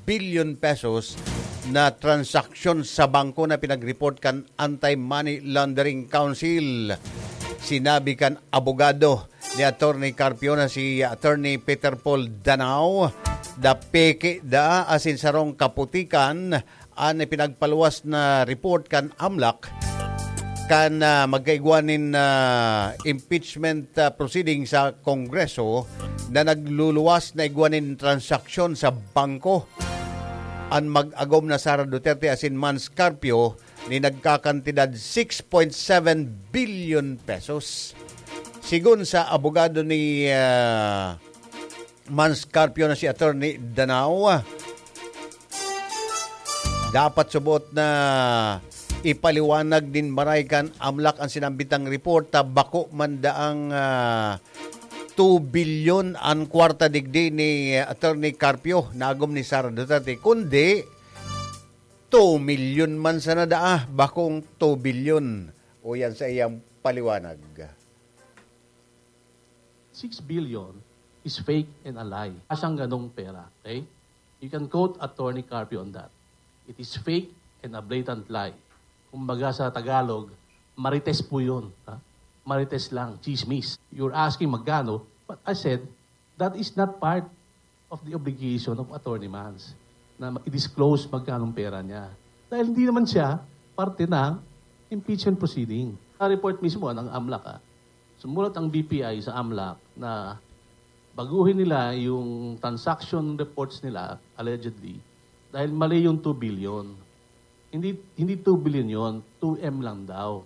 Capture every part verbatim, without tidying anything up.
billion pesos na transaksyon sa bangko na pinag-report kan Anti-Money Laundering Council. Sinabi kan abogado ni Attorney Carpio na si Attorney Peter Paul Danao, da peke da asin sarong kaputikan an ipinagpaluwas na report kan AMLAC kan, ah, magkaigwa nin, ah, impeachment, ah, proceeding sa Kongreso na nagluluwas na igwa nin transaksyon sa bangko. An mag-agom na Sara Duterte asin Mans Carpio ni nagkakantidad six point seven billion pesos. Sigon sa abogado ni, ah, Mans Carpio na si Attorney Danao, dapat subot na ipaliwanag nin maray kan AMLAC an sinambitang report ta bako man daang, ah, two billion an kwarta digdi ni Attorney Carpio na agom ni Sara Duterte, kundi two million man sana daa, bakong two billion. O yan sa iyang paliwanag. Six billion is fake and a lie. Asang ganong pera, okay? You can quote Attorney Carpio on that. It is fake and a blatant lie. Kumbaga sa Tagalog, marites po yun. Ha? Marites lang, chismis. You're asking magkano, but I said, that is not part of the obligation of Attorney Mans na i-disclose magkanong pera niya. Dahil hindi naman siya parte ng impeachment proceeding. Sa report mismo ng AMLAC, ah, sumulat ang B P I sa AMLAC na baguhin nila yung transaction reports nila, allegedly, dahil mali yung two billion. Hindi, hindi two billion yon, two M lang daw.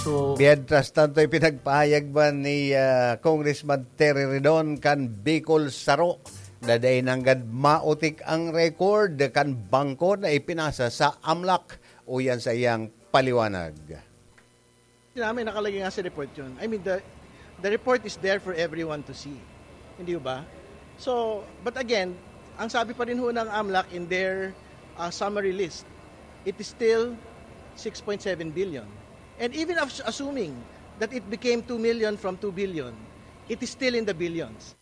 So, Mientras tanto, ipinagpahayag man ni ah, Congressman Terry Ridon kan Bicol Saro na dai nanggad maotik ang record kan bangko na ipinasa sa AMLAC. Uyan sa iyang paliwanag. Namin nakalagay nga sa report yun. I mean, the, the report is there for everyone to see. Hindi ba? So, but again, ang sabi pa rin ho ng AMLAC in their uh, summary list, it is still six point seven billion. And even as- assuming that it became two million from two billion, it is still in the billions.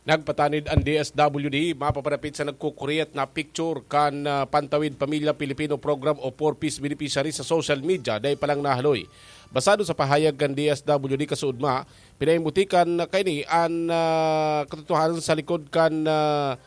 Nagpatanid an D S W D mapaparapit sa nagkukuriyat na picture kan ah, Pantawid Pamilya Pilipino Program o four Ps beneficiary sa social media, dai pa lang nahaloy. Basado sa pahayag kan D S W D kasuodma, pinaimutikan kaini an ah, katotohanan sa likod kan ah,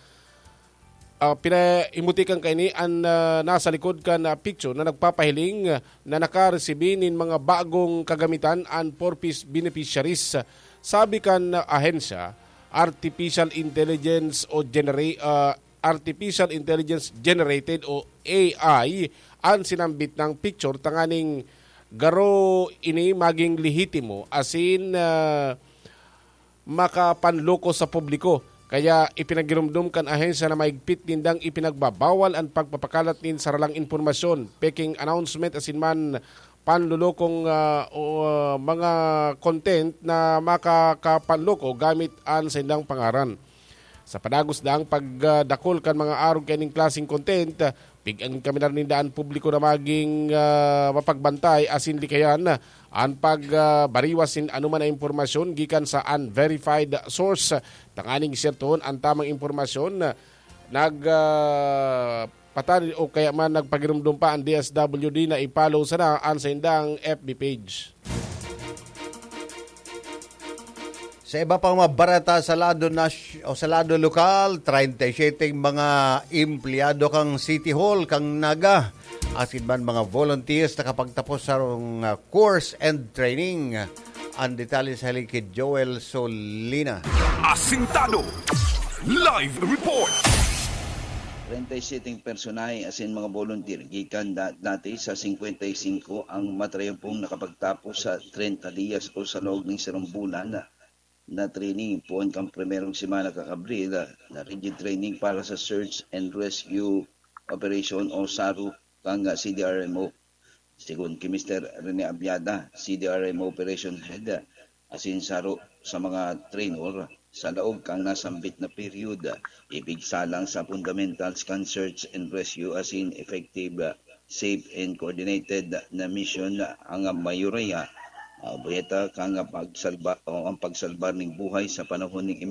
ah, pinaimutikan kaini an ah, nasa likod kan ah, picture na nagpapahiling na nakaresibi nin mga bagong kagamitan an four Ps beneficiaries. Sabi kan ahensya, artificial intelligence o genera- ah, artificial intelligence generated o A I an sinambit nang picture tanganing garo ini maging lehitimo asin ah, makapanloko sa publiko. Kaya ipinagirumdom kan ahensya na mahigpit nindang ipinagbabawal an pagpapakalat nin saralang impormasyon, peking announcement asin man panlulokong ah, o, ah, mga content na makakapanloko gamit an saindang pangaran. Sa padagos daang pagdakul kan mga arog kaining klaseng content, pig-angin kami na ninda an publiko na maging ah, mapagbantay asin likayan an pagbariwas nin anoman na impormasyon gikan sa unverified source. Tanganing sertohon an tamang impormasyon, nag ah, patanid o kaya man nagpagirumdom pa an D S W D na i-follow sana an saindang F B page. Sa iba pang mabarata sa lado nas- o sa lado lokal, treinta y siete mga empleyado kang City Hall kang Naga asin man mga volunteers nakapagtapos sa uh, course and training. Ang detalye sa haligi Joel Solina. Asintado. Live report. treinta y siete personahe asin mga volunteer gikan da- dati sa singkwenta y singko ang matrayumpong nakapagtapos sa treinta diyas o sa laog ning sarong bulan na training poon kan primerong semana kan Abril na rigid training para sa search and rescue operation o saru kan C D R M O. Sigon ki Mister Rene Abiada, C D R M O Operation Head, asin saro sa mga trainer, sa laog kan nasambit na period, ipigsalang sa fundamentals kan search and rescue asin effective, safe and coordinated na mission ang mayoriya, ah, bayeta kan pagsalba o ang pagsalbar ning buhay sa panahon ning